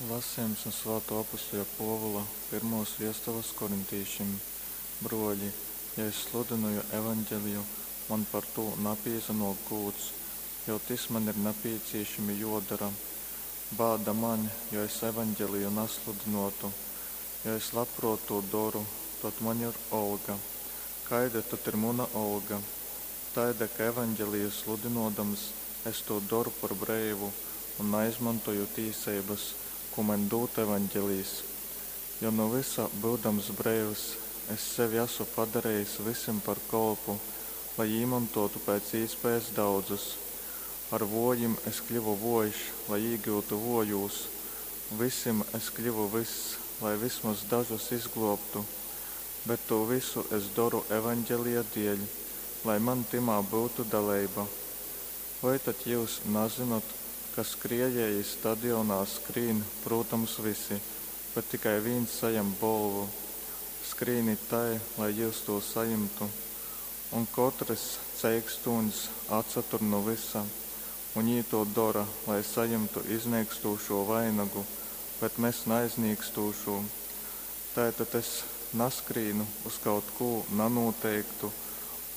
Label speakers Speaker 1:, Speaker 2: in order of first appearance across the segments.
Speaker 1: Lasejums nu Svātuo apustuļa Puovula pyrmuos viestules korintīšim. Bruoļi, ja es sludynoju Evangeliju, man par tū napīsanuok gūds, jo tys man ir napīcīšami juodora. Bāda maņ, jo es Evangeliju nasludynuotu! Jo es labpruot tū doru, tod maņ ir olga. Kaida tod ir muna olga? Taida, ka Evangeliju sludynuodams, es tū doru par breivu un naizmontoju tīseibas, kū maņ dūd Evangelijs. Jo nu vysa byudams breivs, es sevi asu padarejis vysim par kolpu, lai īmontōtu pēc īspējas daudzus. Ar vōjim es kļyvu vōjš, lai īgyutu vōjūs. Vysim es kļyvu vyss, lai vysmoz dažus izglōbtu. Bet tū vysu es doru Evangelija deļ, lai man tymā byutu daleiba. Vai tad jyus nazynot, ka skriejēji stadionā skrīn, prūtams, vysi, bet tikai vīns sajam bolvu? Skrīnit tai, lai jyus tū sajimtu. Un kotrys ceikstūņs atsatur nu vysa, un jī tū dora, lai sajimtu iznīkstūšū vainagu, bet mes naiznīkstūšū. Tai tad es naskrīnu uz kaut kū nanūteiktu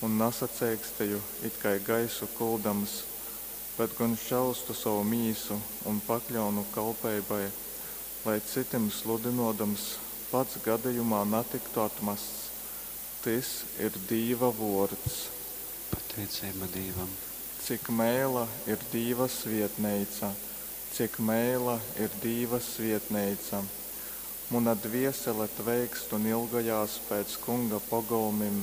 Speaker 1: un nasaceiksteju it kai gaisu kuldams, bet gon šaustu sovu mīsu un pakļaunu kalpeibai, lai cytim sludynōdams, pats gadejumā natyktu atmasts. Tys ir Dīva vōrds.
Speaker 2: Pateiceiba Dīvam.
Speaker 1: Cik meila ir Dīva svietneica, Cik meila ir Dīva svietneica! Muna dviesele tveikst un ilgojās pēc Kunga pogolmim,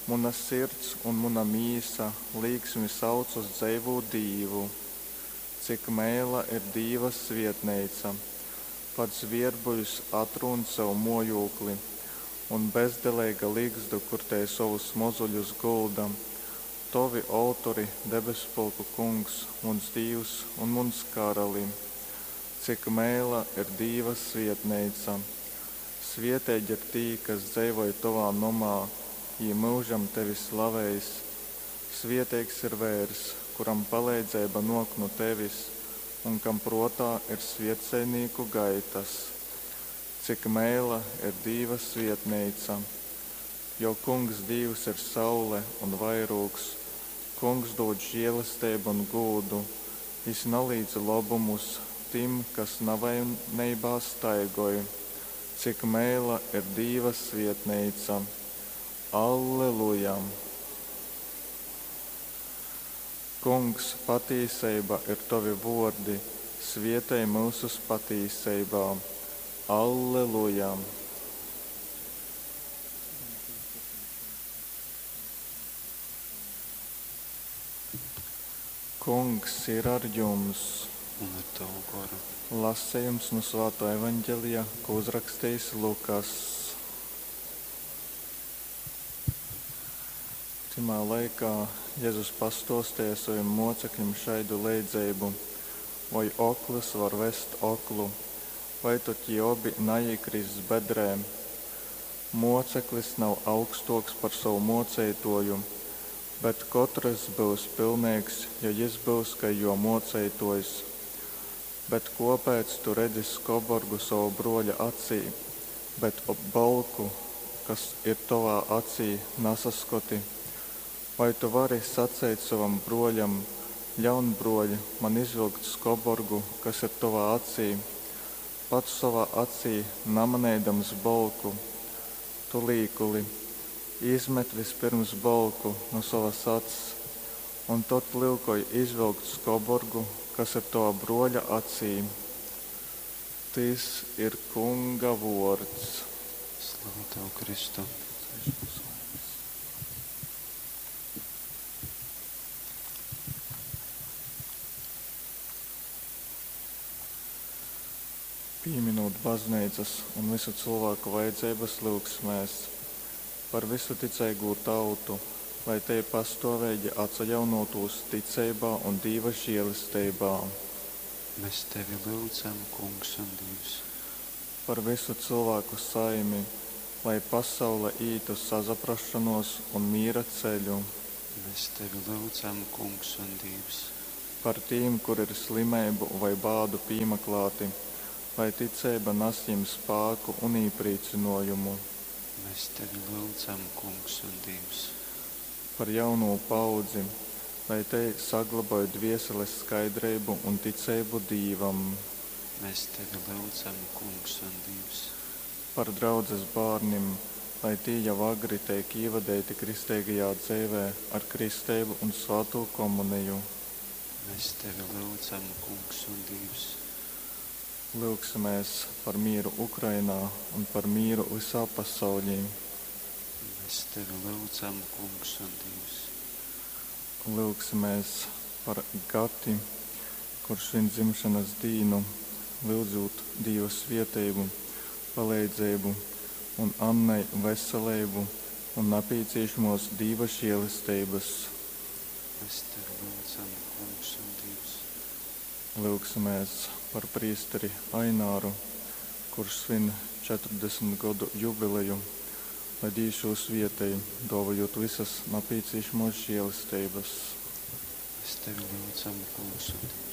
Speaker 1: muna sirds un muna mīsa līksmi sauc uz dzeivū Dīvu. Cik meila ir Dīva svietneica! Pat zvierbuļs atrūn sev muojūkli, un bezdeleiga ligzdu, kur tei sovus mozuļus gulda. Tovi oltori, debesspulku Kungs, muns Dīvs un muns Karali! Cik meila ir Dīva svietneica! Svieteigi ir tī, kas dzeivoj tovā nomā, jī myužam tevi slaveis. Svieteigs ir veirs, kuram paleidzeiba nuok nu tevis un kam pruotā ir svietceļnīku gaitas. Cik meila ir Dīva svietneica! Jo Kungs Dīvs ir saule un vairūgs, Kungs dūd žielesteibu un gūdu, jis nalīdz lobumus tim, kas navaineibā staigoj. Cik meila ir Dīva svietneica! Alleluja! Kungs, patīseiba ir tovi vuordi, svietej myusus patīseibā. Alleluja! Kungs ir ar jums!
Speaker 2: Un ar tavu goru.
Speaker 1: Lasejums nu Svātā Evaņģelija, ko uzrakstījis Lukas. Tymā laikā Jezus pastuostīja sovim mocekļim šaidu leidzeibu: Voi oklys var vest oklu, vai tod jī obi naīkriss bedrē? Muoceklis nav augstuoks par sovu muoceituoju, bet kotrys byus pilneigs, ja jis byus kai juo muoceituojs. Bet kuopēc tu redzi skoborgu sova bruoļa acī, bet bolku, kas ir tovā acī, nasaskoti? Vai tu vari saceit sovam bruoļam: Ļaun, bruoļ, man izvilkt skoborgu, kas ir tovā acī, pats sovā acī namaneidams bolku? Tu līkuli, izmet vispirms bolku nu sovas acs, un tod lyukoj izvilkt skoborgu, kas ir tova bruoļa acī. Tys ir Kunga vuords.
Speaker 2: Slava tev, Kristu!
Speaker 1: Pīminūt bazneicas un vysu cylvāku vajadzeibas, lyugsimēs par vysu ticeigū tautu, lai tei pastuoveigi atsajaunōtūs ticeibā un Dīva žielesteibā.
Speaker 2: Mēs tevi lyudzam, Kungs un Dīvs.
Speaker 1: Par vysu cylvāku saimi, lai pasaule ītu sasaprasšonuos un mīra ceļu.
Speaker 2: Mēs tevi lyudzam, Kungs un Dīvs.
Speaker 1: Par tīm, kuri ir slimeibu voi bādu pīmaklāti, Lai ticeiba nas jim spāku un īprīcynōjumu.
Speaker 2: Mes Tevi lyudzam, Kungs un Dīvs.
Speaker 1: Par jaunū paaudzi, lai tei sagloboj dvieseles skaidreibu un ticeibu Dīvam.
Speaker 2: Mes Tevi lyudzam, Kungs un Dīvs.
Speaker 1: Par draudzes bārnim, lai tī jau agri teik īvadeiti kristeigajā dzeivē ar kristeibu un svātū Komuniju.
Speaker 2: Mes Tevi lyudzam, Kungs un Dīvs.
Speaker 1: Lyugsimēs par mīru Ukrainā un par mīru vysā pasauļī.
Speaker 2: Mēs Tevi lyudzam, Kungs un Dīvs.
Speaker 1: Lyugsimēs par Gati, kurš svin dzimšanas dīnu, lyudzūt Dīva svieteibu, paleidzeibu un Annai veseleibu un napīcīšamuos Dīva žielesteibys.
Speaker 2: Mēs Tevi lyudzam, Kungs un Dīvs.
Speaker 1: Lyugsimēs par prīsteri Aināru, kurš svin 40 godu jubileju, lai Dīvs jū svietej, duovojūt vysys napīcīšamuos žielesteibys.
Speaker 2: Mēs Tevi lyudzam, Kungs un Dīvs.